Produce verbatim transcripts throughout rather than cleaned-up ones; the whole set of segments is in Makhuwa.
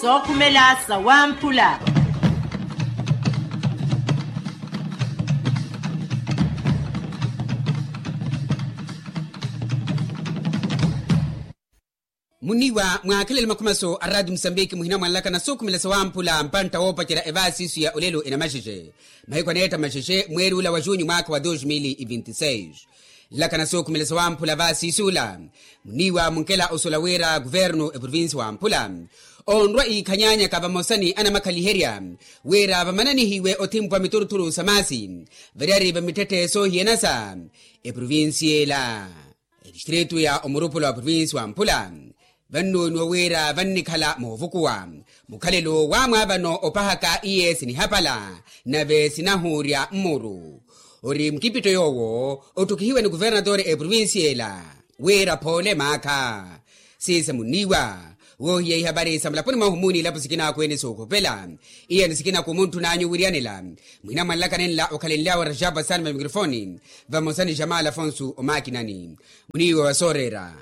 Sookhumela sawamphula. Muniiwa mwaakhelele makhumaso a raati musambiki muhina mwanlakana sookhumela sawamphula mpantta woopacerya evaasi isu ya olelo enamaxexe. Mahiku aneetta maxexe mweeri ula wa junyu mwaakha wa dos mil e vinte e seis. Nlakana sookhumela sawamphula vaasi isu ula muniiwa munkela osuwela wira kuvernu eprovinsi wamphula onrwa iikhanyaanyaka vamosa ni anamakhaliherya wira vamananihiwe othimpwa mituruthuru sa maasi variyari va mittetthe soohiyana sa eprovinsi ela. Etistritu ya omurupula wa provinsi wamphula vannooniwa wira vannikhala moovukuwa mukhalelo wa mwaavano opahaka iye sinihapala nave sinahuurya mmuru. Ori mukipitto yoowo otthukihiwe ni kuvernatore eprovinsi ela wira phoole maakha. Siisa munniiwa woohiya ihapari sa mulaponi mwahu muuni ilapo sikinaakhu ene sookhopela. Iyani sikinaakhu muntthun'anyu wiriyanela mwina mwanlakana enla okhalenlyawe rajapa sani va mikrofoni vamosa ni jamal afonso omakinani. Muniiwa wa sooreera.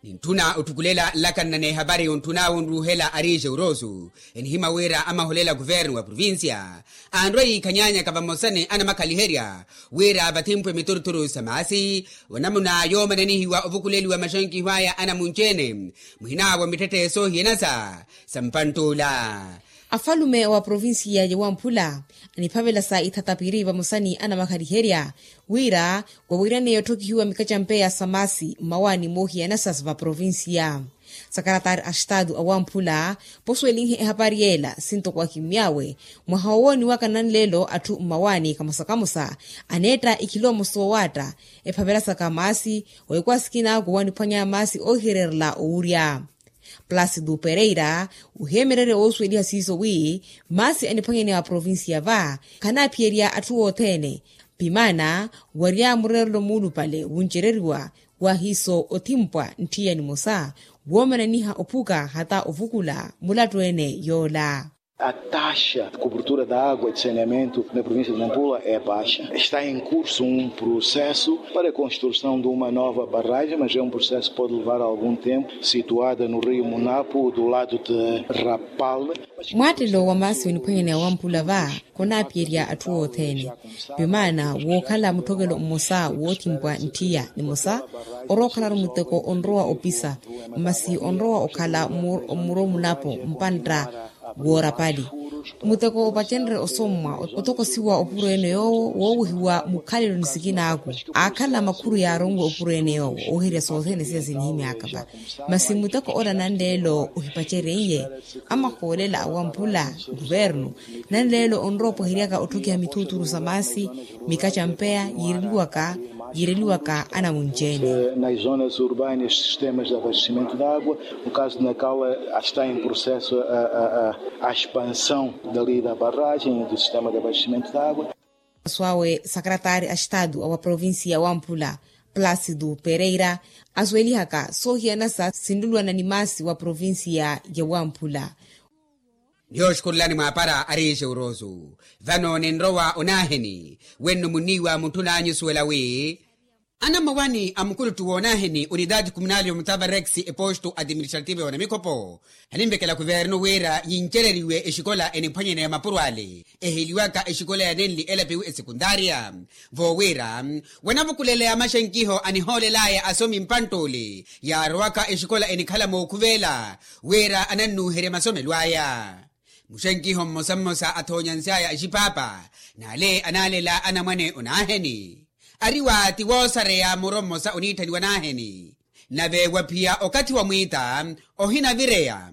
Nintthuna otthukulela nlakanna n'ehapari yontthun'awe onruuhela ari jeuroso enihimya wira amaholela kuvernu wa provincia anrwa yiikhanyaanyaka vamosa ni anamakhaliherya wira vathimpwe mituruthuru sa maasi. Onamuna yoomananihiwa ovukuleliwa maxankiho aya anamunci-ene muhinaawo mittetthe soohiyana sa sa mpantt'ula. Afalume wa provincia ya wamphula aniphavela sa ithatapiri vamosa ni anamakhaliherya wira wawiryaneya otthokihiwa mikacampeya sa maasi mmawaani moohiyanasa va provincia. Sakaratari a estatu a wamphula posuwelinhe ehapari yeela sintoko akimmy'awe mwaha wowooniwaka nanleelo atthu mmawaani kamosa kamosa aneetta ikhiloomosi wowaatta ephavela saka maasi. Owekwaasikina kuwaniphwanya maasi oohihererela owurya. Placido pereira oheemererye woosuweliha siiso wi maasi aniphwanyaneya wa provincia va khanaaphiyerya atthu othene. Pimaana warya mureerelo muulupale wuncereriwa waahiiso othimpwa ntthiyani mosa woomananiha ophuka hata ovukula mulattu ene yoola. A taxa de cobertura da água de saneamento na provincia de nampula é baixa. Está em curso um processo para a construção de uma nova barragem mas é um processo que pode levar algum tempo, situada no rio munapo do lado de rapal. Mwaattelo wa maasi oniphwanyaneya wamphula va khonaaphiyerya atthu othene. Pimaana wookhala mutthokelo mmosa woothimpwa ntthiya nimosa orowa okhalaru muteko onrowa opisa masi onrowa okhala mmuro munapo mpantta woorapali. Muteko opacenrye osommwa otokosiwa opuro ene yoowo woowehiwa mukhalelo ni sikinaaku aakhala makhuru yaaronwe opuro ene yoowo ooherya sothene siya sinihimy'aka va. Masi muteko ola nanleelo ohipacereiye amahoolela awamphula nkuvernu nanleelo onrowa opweheryaka otthokiha mithuuthuru sa maasi mikacampeya yiireliwaka yiireliwaka anamunci-ene. Nas zonas urbanas sistemas de abastecimento de água no caso de nampula está em processo a expansão dali da barragem do sistema de abastecimento de água. Awe sakaratari a estatu a wa provincia ya wamphula placido pereira asuwelihaka soohiyanasa sinluluwana ni maasi wa provincia ya wamphula. Ni yooxukhulelani mwaapara ari jeuroso vano ninrowa onaaheni wenno munniiwa muntthun'anyu osuwela wi anamawani a mukuluttu woonaaheni unidade kumunali yomutavarex eposto administrativo ya onamikhopo aninvekela kuvernu wira yincereriwe exikola eniphwanyeneya mapuro ale eheliwaka exikola ya nenli elapiwi esekuntaria voowira wanavukuleleya maxenkiho anihoolelaya asomi mpantt'ule yaarowaka exikola enikhala mookhuvela wira anannuuherye masomelo aya. Muxenkiho mmosa mmosa athoonya nsyaya exipaapa n'ale anaalela anamwane onaaheni ari wa ti woosareya muro mmosa oniitthaniwa naaheni nave waphiya okathi wa mwiita ohinavireya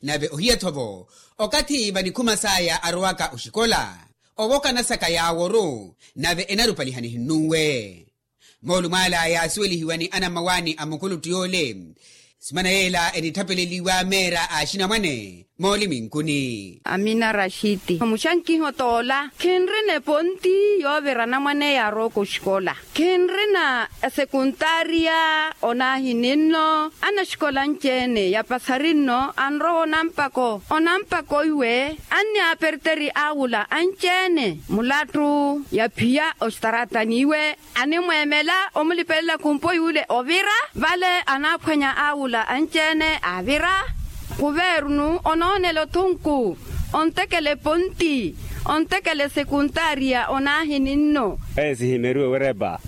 nave ohiya-tho-vo okathi vanikhuma saya arowaka oxikola owoka nasaka yaaworu nave enarupaliha nihinnunwe. Moolumo ala yaasuwelihiwa ni anamawani a mukuluttu yoole simana yeela enitthapeleliwa meera a axinamwane Mooliminkuni. Amina rashiti muxankiho t'ola khinrina eponti yoovira anamwane yaarowaka oxikola. Khinrina esekuntaariya onaahininno. Anaxikola anci-ene yapasari nno anrowa onampako onampako iwe anniyaaperteri awula anci-ene mulattu yaphiya ositaratani iwe. Animweemela omulipelela khumpo yuule ovira vale anaaphwanya awula anci-ene avira. Kuvernu onoonela othunku ontekela eponti ontekela esekuntaariya onaahininno. Eye sihimeriwe werepa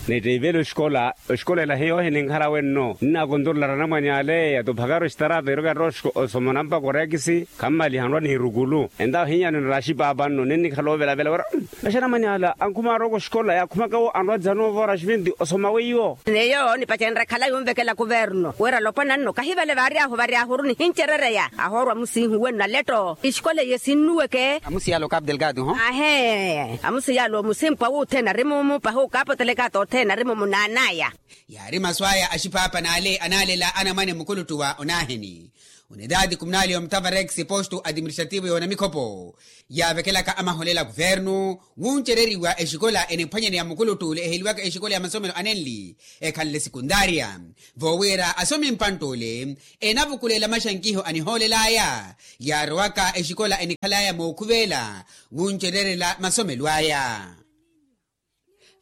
nittiivela oxikola. Oxikola ela hiyo hininkhara wenno nnaakontorolari anamwane ale yatophakari ositaraata iroka erooxiko osoma onampaka oreekisi. Khammaliha nrwa niirukulu entawo hinyaano niraxi paapa nno ninnikhala ovelavela wira naxi anamwane ala ankhuma arooko oxikola yaakhumaka wo anrwa dzano voora xiventi osoma weiwo. Neyo nipacenrya khala yunvekela kuverno wira lopwana nno kahi vale vaaryahu varyahuru nihincerereya ahoorwa musiihu wenno aletto. Ixikola iye sinnuweke amusiyala okapu delgado ho. Ahe amusiyala omusimpwa wuthene ari mumu pahi okaapotelekata othene ari mumu naanaya. Yaari masu aya axiphaapa n'ale anaalela anamwane mukuluttu wa onaaheni onitaati kumunali omutavarex postu atiministrativo yoona mikhopo yaavekelaka amaholela kuvernu wuncereriwa exikola eniphwanyaneya mukuluttu ole eheliwaka exikola ya masomelo anenli ekhanle sekuntaariya. Voowira asomi mpantt'ole enavukulela maxankiho anihoolel'aya yaarowaka exikola enikhal'aya mookhuveela wuncererela masomelo aya.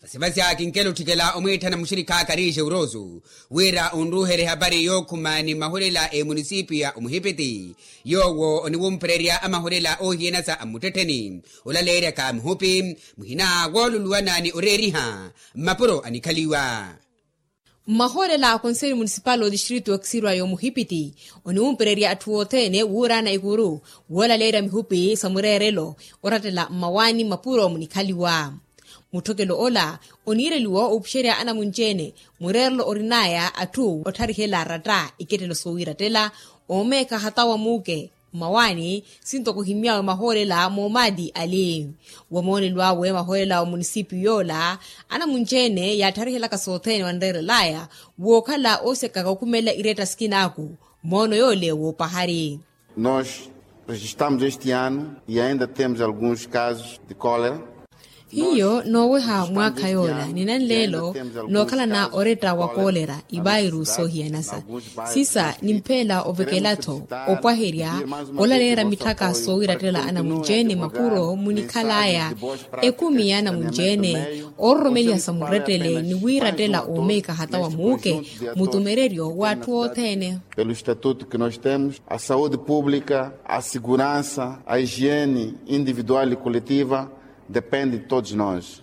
Vasivasi akinkela otthikela omwiitthana muxirikha akarixe urosu wira onruuherye ehapari yookhuma ni mahulela emunisipiyu ya omuhipiti yoowo oniwumpererya amahulela oohiyanasa a mmuttettheni olaleeryaka mihupi muhina wooluluwana ni oreeriha mmapuro anikhaliwa. Mmahoolela a konseli munisipali otistritu okisirwa y'omuhipiti oniwumpererya atthu othene wuuraana ikuru woolaleerya mihupi sa mureerelo orattela mmawaani mmapuro munikhaliwa. Mutthokelo ola oniireliwa opuxerya anamunci-ene mureerelo orin'aya atthu ottharihelela aratta ikettelo soowiirattela oomeekha hata wa muuke mmawaani sintoko ohimy'awe mahoolela moomaati ali. Wamoonelo awe mahoolela wa munisipiyu yoola anamunci-ene yaattarihelaka sothene wanreerel'aya wookhala oosekaka okhumelela iretta sikinaaku moono yoole woopahari. Nos rejistamos este ano e ainda temos alguns casos de cólera. Hiyo nooweha mwaakha yoola ni nanleelo nookhalana oretta wa koolera ivairu soohiyanasa. Sisa nimpheela ovekela-tho opwaherya olaleera mitthaka soowiirattela anamunci-ene mapuro munikhal'aya ekumi y'anamunci-ene oororomeliha sa murettele ni wiirattela oomeeka hata wa muuke mutumereryo w'atthu othene. Pelo estatuto que nos temos a saúde pública a segurança a higiene individual e coletiva depende de todos nos.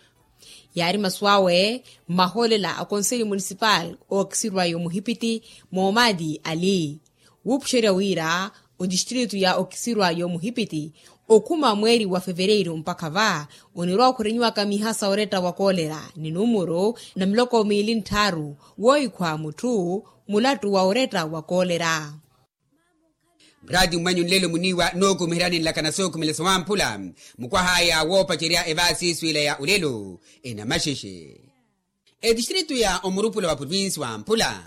Yaari masu awe mmahoolela a konseli munisipali ookisirwa y'omuhipiti moomaati ali wuupuxerya wira otistritu ya okisirwa y'omuhipiti okhuma mweeri wa fevereiru mpakha va onirwa okhurenyiwaka miiha sa oretta wa koolera ni numuru na miloko miili ntthaaru woohikhwa mutthu mulattu wa oretta wa koolera. Muraati mmwanyu nlelo muniiwa nookumiheryani nlakana sookhumela sowamphula mukwah'aya woopacerya evaasi iswiila ya olelo enamaxexe. Etistritu ya omurupula wa provinsi wamphula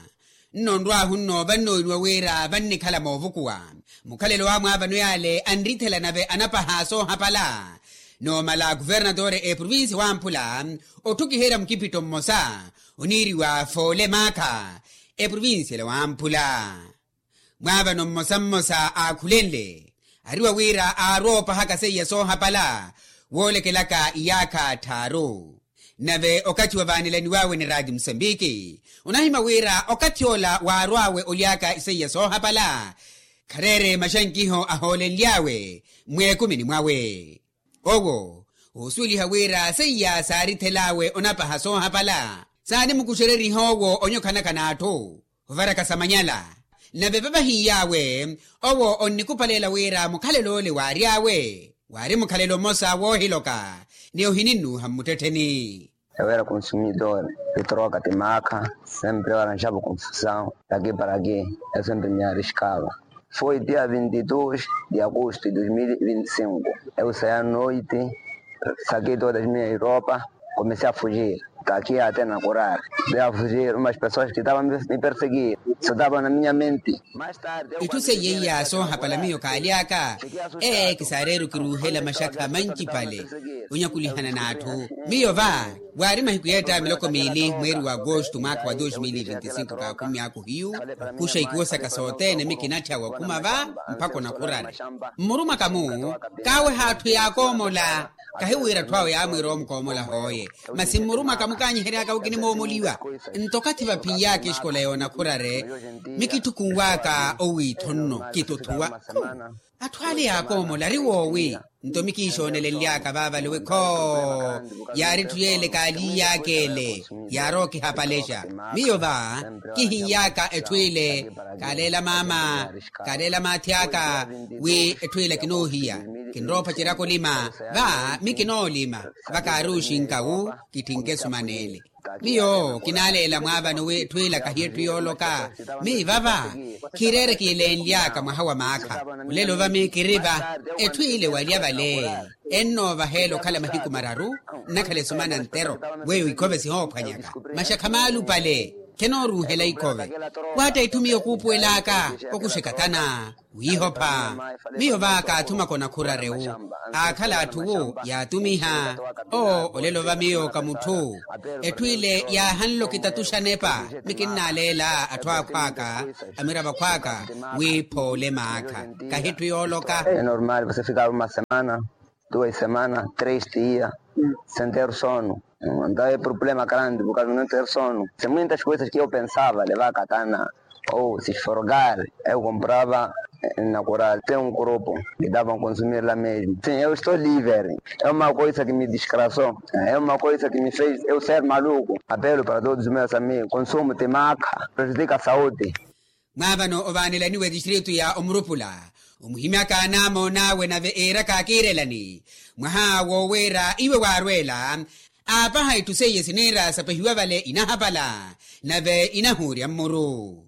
nno nrwaahu nno vannooniwa wira vannikhala moovukuwa mukhalelo wamwaavano yaale anrithela nave anapaha soohapala. Noomala kuvernatore eprovinsi wamphula otthukiherya mukipitto mmosa oniiriwa foole maakha eprovinsi ela wamphula. Mwaavano mmosa mmosa aakhulenle ariwa wira aarwa oopahaka seiya soohapala woolekelaka iyaakha tthaaru. Nave okathi wa vaanelaniw'awe ni raati musambiki onahimya wira okathi ola waarw'awe oly'aka iseiya soohapala khareere maxankiho ahoolenly'awe mweekumini mwawe. Owo oosuweliha wira seiya saarithel'awe onapaha soohapala saanimukuxereriha owo onyokhanaka n'atthu ovaraka sa manyala. Nave vavahiy'awe owo onnikupaleela wira mukhalel'ole waary'awe waari mukhalelo mmosa woohiloka ni ohininnuuha mmuttettheni. Ewera konsumidor itroka ti maakha sempre waranxavo konfusaw taki paraki. Esempe miariskava foi dia vinti dos de agosto de dos mil vinti cinco eu saya noiti saki todas minha europa. Komesi a fujir Kakhiya ate na kurari. Devo fujir umas pessoas ki tavan mi perseguir, so tavan na minha mente. Itthu seiya iya soohapala miyo kaaly'aka. Ee kisaareru kiruuhela maxakha mancipale onyakulihana n'atthu. Miyo va waari mahiku yeetta miloko miili mweeri wa agosto mwaakha wa dos mil e vinte e cinco kaakhumy'aku hiyu okuxa ikuwo saka sothene mikinatthya wakhuma va mpakha onakhurari. Mmurumwaka-mu kaaweha atthu yaakoomola. Kahiwira atthu awe yaamwiira omukoomola hooye. Masi mmurumwaka mukaanyihery'aka wi kinimoomoliwa. Nto okathi vaphin'y'aka exikola yoonakhurare mikitthukunw'aka owiitho nno kituthuwa. Atthu ale yaakoomola ari woowi? Nto mikiixoonelenly'aka vaavale wi khoo yaari etthu y'ele kaaliiy'aka ele. Yaari okihapalexa miyo va kihin'y'aka etthu ile kaaleela maama kaaleela maathi aka wi etthu ile kinoohiya kinrowa opaceryaka olima. Va mikinoolima va kaari oxinka wu kitthinke esumana ele. Miyo kinaaleela mwaavano wi etthu ile kahiya etthu yooloka. Miyo vava khireere kiilenly'aka mwaha wa maakha olelo va miyo kiri va etthu ile walya vale. Ennoovaheela okhala mahiku mararu nnakhala esumana ntero. Weiwo ikhove sihoophwanyaka maxakha maalupale khenooruuhela ikhove. Waatta itthu miyo kuupuwel'aka okuxeka tana wiihopha. Miyo va kaathumaka onakhurare wu aakhala atthu wu yaatumiha. Oo olelo va miyo ka mutthu etthu ile yaahanle okitatuxa nepa. Mikinnaaleela atthu akhw'aka amiravo akhw'aka wi phoole maakha kahi etthu yooloka. É normal você ficar uma semana, duas semanas, três dias sem ter sono. Então é problema grande por causa de não ter sono. Tem muitas coisas que eu pensava levar katana ou se esforgar. Eu comprava na coral tem um grupo que davam consumir lá mesmo. Sim, eu estou livre. É uma coisa que me desgraçou. É uma coisa que me fez eu ser maluco. Apelo para todos os meus amigos: consumo de maca prejudica a saúde. Mwaavano ovaanelaniwa etistritu ya omurupula omuhimyaka anaamoon'awe nave eeraka akiirelani mwaha wooweera iwe waarweela. Aapaha itthu seiye siniira sapehiwa vale inahapala nave inahuurya mmuru.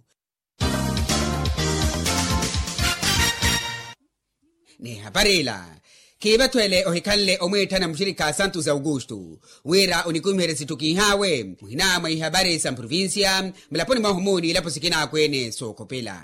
N'ihapari ila khiivathwele ohikhanle omwiitthana muxirikha santos augusto wira onikumiherye sitthu kiihaawe muhina mwa ihapari sa mprovincia mulaponi mwahu muuni ilapo sikina akweene sookhopela.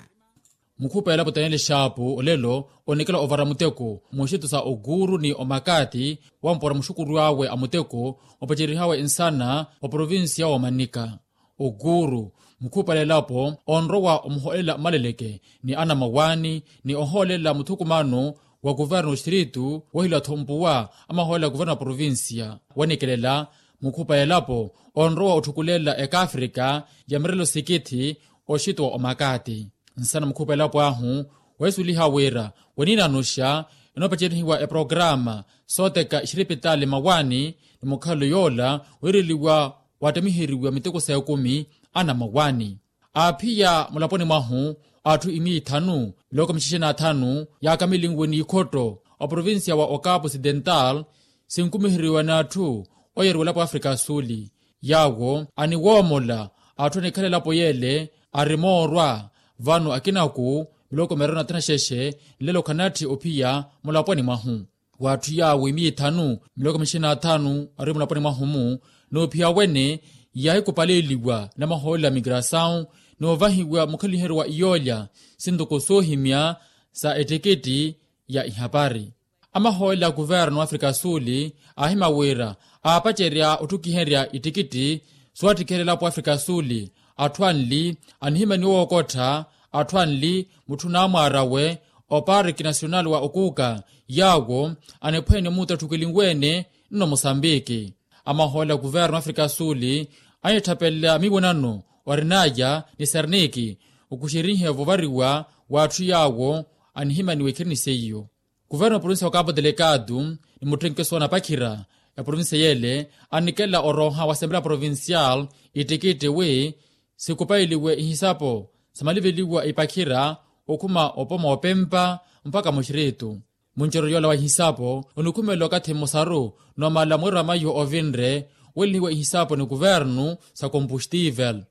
Mukhupa elapo taneli xaapu olelo onikela ovara muteko muxitto sa okuuru ni omakati wampora muxukuru awe a muteko opacerihaawe nsana wa provincia wa omanika. Okuuru mukhupa lelapo onrowa omuhoolela mmaleleke ni anamawaani ni ohoolela muthukumano wa kuverno oxitiritu wohilwa-tho mpuwa amahoolela kuverno a provincia. Wanikelela mukhupa elapo onrowa otthukulela ekaafrika ya mirelo sikithi oxitto wa omakati. Nsana mukhupa elapo ahu weesuliha wira weniinanuxa enoopacerihiwa eprograma sooteka ixiripitali mawaani ni mukhalo yoola wiireliwa waattamiheriwa miteko s'ekumi anamawaani. Aaphiya mulaponi mwahu atthu imiya ithanu miloko mixexe n'athanu yaakamilinwe n'ikhotto oprovincia wa okapu ocidental sinkumiheriwa n'atthu oyeriwa elapo afrika asuli. Yaawo aniwoomola atthu anikhala elapo yeele ari moorwa vano akinaku miloko miraru n'athanu axexe nlelo khanatthi ophiya mulaponi mwahu. W'atthu yaawo imiya ithanu miloko mixexe n'athanu ari mulaponi mwahu-mu noophiya wene yaahikupaleliwa namahoolela a migrasawu noovahiwa mukhaliheryo wa iyoolya sintoko soohimya sa ettikitti ya ihapari. Amahoolela a kuverno afrika asuli aahima wira aapacerya otthukiherya ittikitti soottikiherya elapo afrika asuli atthu anli anihimaniwa wookottha atthu anli mutthu naamwaar'awe opariki nasional wa okuuka yaawo aniphwene omuuta otthukelinwe-ene nno musambiki. Amahoolela a kuverno afrika asuli anitthapela miiwonano orinaya ni serniki okuxerinhe vovariwa w'atthu yaawo anihimaniwa ikhirini seiyo. Kuverno provincia wa kapu delegado ni mutthenkeso wa napakhira ya provincia yeele anikela orooha wa assembleya provincial ittikitti wi sikupailiwe ihisapo samaliveliwa ipakhira okhuma opoma opempa mpakha muxiritu. Munceryo yoola wa ihisapo onikhumela okathi mmosaru noomala mweeri wa mayo ovinre welihiwa ihisapo ni kuvernu sa kompustivel.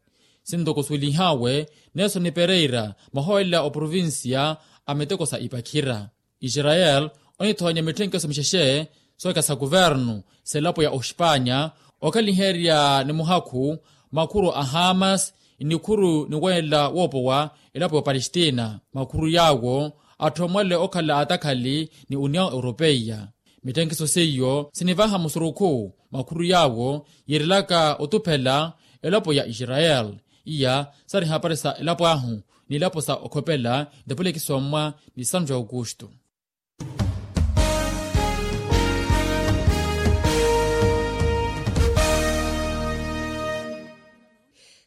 Sintoko suulihawe nelson pereira mahoolela oprovincia a miteko sa ipakhira. Israel onithoonya mitthenkeso mixexe sookesa kuvernu selapo ya oxpanya Okaliherya ni muhakhu makhuru a hamas, nikhuru niweela woopowa elapo ya opalestina makhuru yaawo atthu amwale okhala atakhali ni union europeiya. Mittenkiso seiyo sinivaha musurukhu makhuru yaawo yiirelaka otuphela elapo ya israel. Iya sari hapari sa elapo ahu ni elapo sa okhopela ntapulekisomwa ni santu ya aukustu.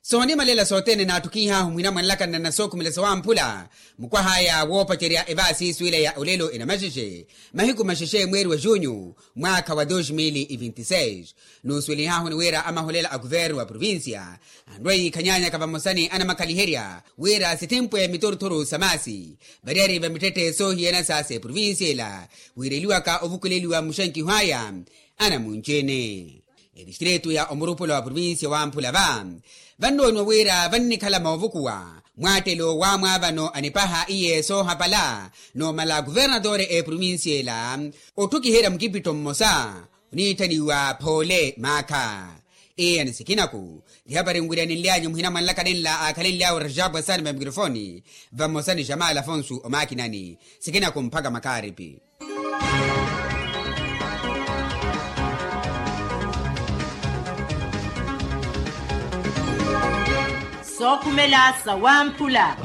Soonimalela sothene naattukihaahu mwina mwanlakana na nasookhumela sawamphula mukwahaya woopacerya evaasi suwila ya olelo enamaxexe mahiku maxexe mweeri wa junyu mwaakha wa dos mil e vinte e seis. Nuusuwelihaahu ni wira amaholela a kuvernu wa provincia anrwa yiikhanyanyaka vamosa ni anamakhaliherya wira sithimpwe mituruturu sa maasi variyari va mittetthe soohiyana sa s'eprovincia ela wiireliwaka ovukuleliwa mmuxenkiho aya. Anamunci-ene etistritu ya omurupula wa provincia wamphula va vannooniwa wira vannikhala moovukuwa mwaattelo wa mwaavano anipaha iye soohapala noomala kuvernatore eprovincia ela otthukiherya mukipitto mmosa oniitthaniwa phoole maakha. Eya ni sikinaku tihapari nwiryaninlyanyu muhina mwanlakalenla aakhalenly'awe rajapwa saani va mikrofoni vamosa ni jamal afonso omaakinani. Sikinaku mpakha makaaripi. Sookhumela sawamphula.